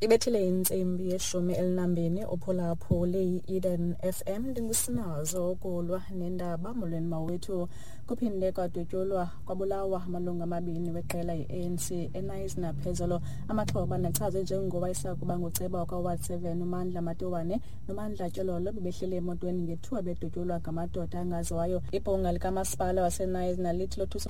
Ibethile intsimbi ye-12 uphulaphule i-Eden FM. Ndingusinazo ukulwa nendaba. Molweni mawethu. Kuphinde kwadutyulwa kwabulawa amalungu amabini weqela i-ANC eKnysna phezolo. Amaxhoba nachazwe njengowayesakuba nguceba wakwa-Ward 7 uMandla Matiwane noMandla Tyololo bebehleli emotweni ngethuba bedutyulwa ngamadoda angaziwayo. Ibhunga likamasipala waseKnysna lithi lothusa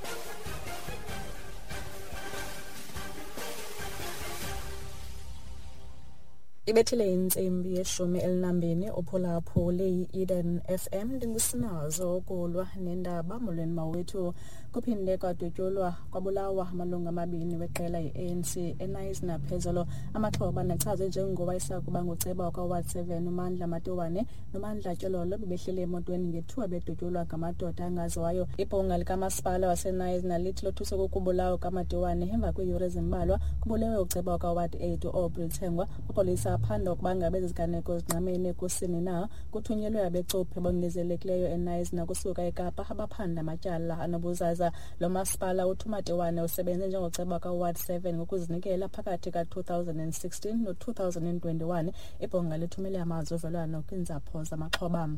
Ibethile intsimbi ye-12 uphulaphule i-Eden FM. Ndingusinazo ukulwa nendaba. Molweni mawethu. Kuphinde kwadutyulwa kwabulawa amalungu amabini weqela i-ANC eKnysna phezolo. Amaxhoba nachazwe njengowayesakuba nguceba wakwa-Ward 7 uMandla Matiwane noMandla Tyololo bebehleli emotweni ngethuba bedutyulwa ngamadoda angaziwayo. Ibhunga likamasipala waseKnysna lithi lothuswe kukubulawa kukaMatiwane emva kweeyure ezimbalwa kubulewe uceba wakwa-Ward 8 uAubrey Thengwa. Amapolisa aphanda ukuba ngabe ezi ziganeko zingqamene kusini na. Kuthunyelwe abecuphi abongezelekileyo eKnysna kusuka eKapa abaphanda amatyala anobuzaza. Lo masipala uthi uMatiwane usebenze njengoceba kaWard 7 ngokuzinikela phakathi ka-2016 no-2021. Ibhunga lithumele amazwi ovelwano kwiintsapho zamaxhoba.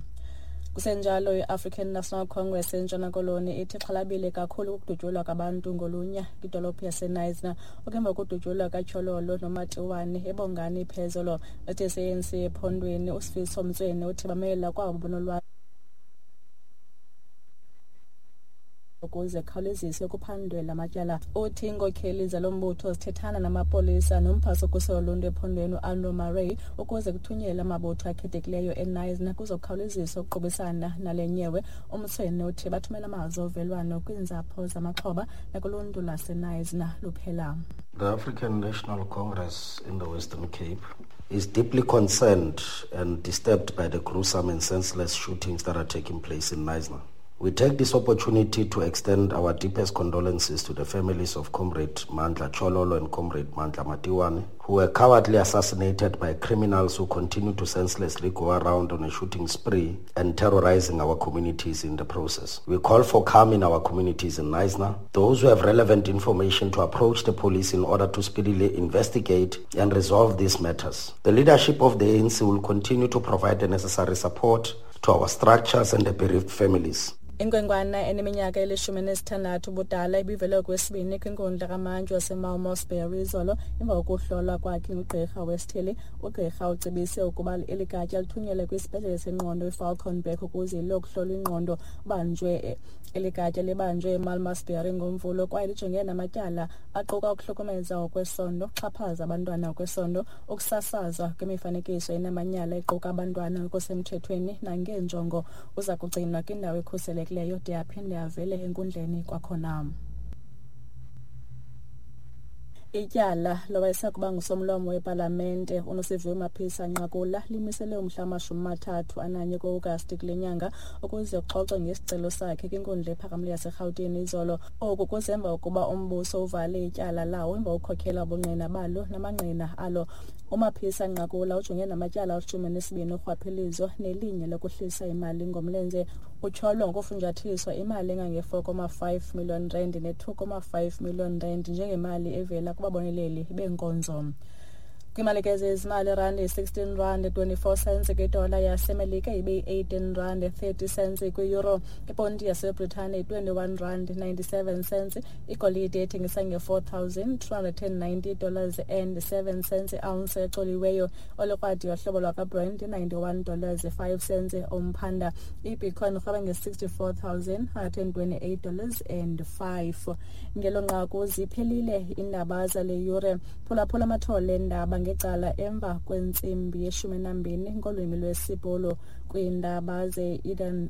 Kusenjalo, i-African National Congress eNtshona Koloni ithi ixhalabile kakhulu ukudutyulwa kwabantu ngolunya kwidolophu yaseKnysna okemva kokudutyulwa kaTyololo noMatiwane eBongani phezolo. Uthi se-ANC ephondweni uSifiso Mtsweni uthi bamela kwabo bonolwazi ukuze kukhawuleziswe kuphandwe la matyala. Uthi iinkokheli zalo mbutho zithethana namapolisa nomphathi wokhuselo loluntu ephondweni uAndrew Murray ukuze kuthunyelwe amabutho akhethekileyo eKnysna kuzokhawuleziswa ukuqubisana nale nyewe. UMtsweni uthi bathumela amazwi ovelwano kwiintsapho zamaxhoba nakuluntu lwaseKnysna luphela. The African National Congress in the Western Cape is deeply concerned and disturbed by the gruesome and senseless shootings that are taking place in Knysna. We take this opportunity to extend our deepest condolences to the families of Comrade Mandla Chololo and Comrade Mandla Matiwane, who were cowardly assassinated by criminals who continue to senselessly go around on a shooting spree and terrorizing our communities in the process. We call for calm in our communities in Knysna. Those who have relevant information to approach the police in order to speedily investigate and resolve these matters. The leadership of the ANC will continue to provide the necessary support to our structures and the bereaved families. Inkwenkwana eneminyaka eli-16 ubudala ibivele okwesibini kwinkundla kamantyi waseMalmesbury izolo emva kokuhlolwa kwakhe ngugqirha wesithili. Ugqirha ucebise ukuba eli gatya lithunyelwe kwisibhedlele sengqondo iFalcon Back ukuze liyokuhlolwa ingqondo. Banjwe eli gatya libanjwe eMalmesbury ngoMvulo kwaye lijongene namatyala aquka ukuhlukumeza ngokwesondo, ukuxhaphaza abantwana ngokwesondo, ukusasazwa kwemifanekiso enamanyala equka abantwana ngokusemthethweni nangeenjongo. Uza kugcinwa kwindawo ekhuselekileyo de aphinde avele enkundleni kwakhona. Ityala lowayesakuba ngusomlomo wepalamente uNosiviwe Mapisa Nqakula limiselwe umhla wama-31 ku-Agasti kule nyanga ukuze kuxoxwe ngesicelo sakhe kwinkundla ephakamileyo yaseRhawutini izolo. Oku kuze emva kokuba umbuso uvale ityala lawo emva kokukhokhela ubungqina balo namangqina alo. UMaphisa Nqakula ujongene namatyala 12 orhwaphilizo nelinye lokuhlisa imali ngomlenze. Utyholwa ngokufunjathiswa imali engange-4.5 million rand ne-2.5 million rand njengemali evela kubaboneleli beenkonzo. Kwimali ke zezimali, irandi yi-16 rand 24 cents kwidola yaseMelika, ibe yi-18 rand 30 cents kwi-euro. Iponti yaseBritane yi-21 rand 97 cents. Igolide ethengisa nge-$4,290 dollars and 7 cents i-ounce ecoliweyo. Olukrwadi yohlobo lwakwaBrent i-91 dollars 5 cents umphanda. Ibitcoin irhweba nge-$64,128 dollars and 5. Ngelo nqaku ziphelile iindaba zale yure. Phulaphula amathole endaba ngecala emva kwentsimbi ye-12 ngolwimi lwesiBhulu kwiindaba ze-Eden.